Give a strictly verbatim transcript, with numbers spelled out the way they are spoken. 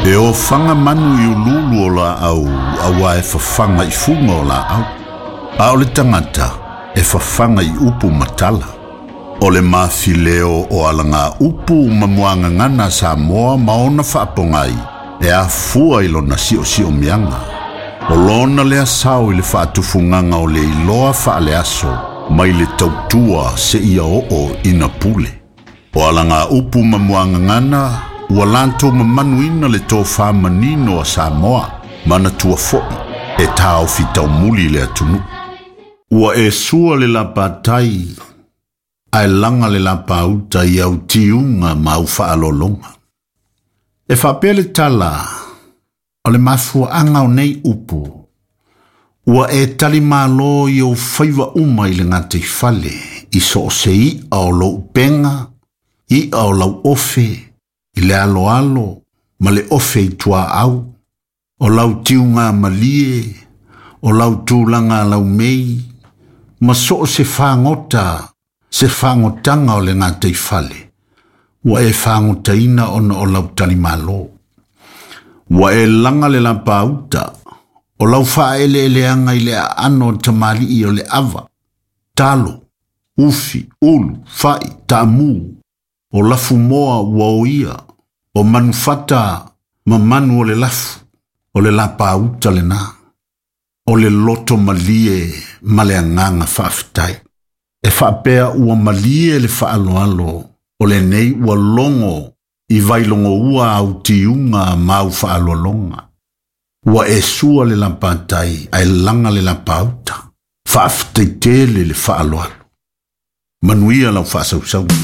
E ofaga manu i uluulu o laau auā e fafaga i fuga o laau. A o le tagata e fafaga i upu ma tala. O le mafileo o alaga upu ma muagagana a Samoa ma ona faapogai e afua i lona siosiomiaga. O lona lea sao i le faatufugaga o le iloa faaleaso mai le tautua seia oo ina pule. O alaga upu ma muagagana ua latou mamanuina le tofā manino a Samoa, manatua foi e taofi taumuli le atunuu. Ua e sua le lapatai, ae laga le lapauta i au tiuga ma au faalologa. E faapea le tala o le mafuaaga o nei upu, ua e talimalo i ou faiva uma i le gataifale, i so o se i'a o lou upega, i'a o lau ofe, i le aloalo ma le ofe i tuaau, o lau tiuga malie, o lau tulaga laumei, ma so o se fagota, se fagotaga o le gataifale, ua e fagotaina ona o lau talimalo. Ua e laga le lapauta, o lau faaeleeleaga i le aano o tamalii o le ava, talo, ufi, ulu, fai, taamu, o lafumoa ua oia, o manufata ma manu o le lafu, o le lapauta lena, o le loto malie ma le agaga faafetai. E faapea ua malie le faaaloalo, o lenei ua logo i vailogoua au tiuga ma au faaaloaloga. Ua e sua le lapatai ae laga le lapauta, faafetai tele le faaaloalo. Manuia lau faasausauga.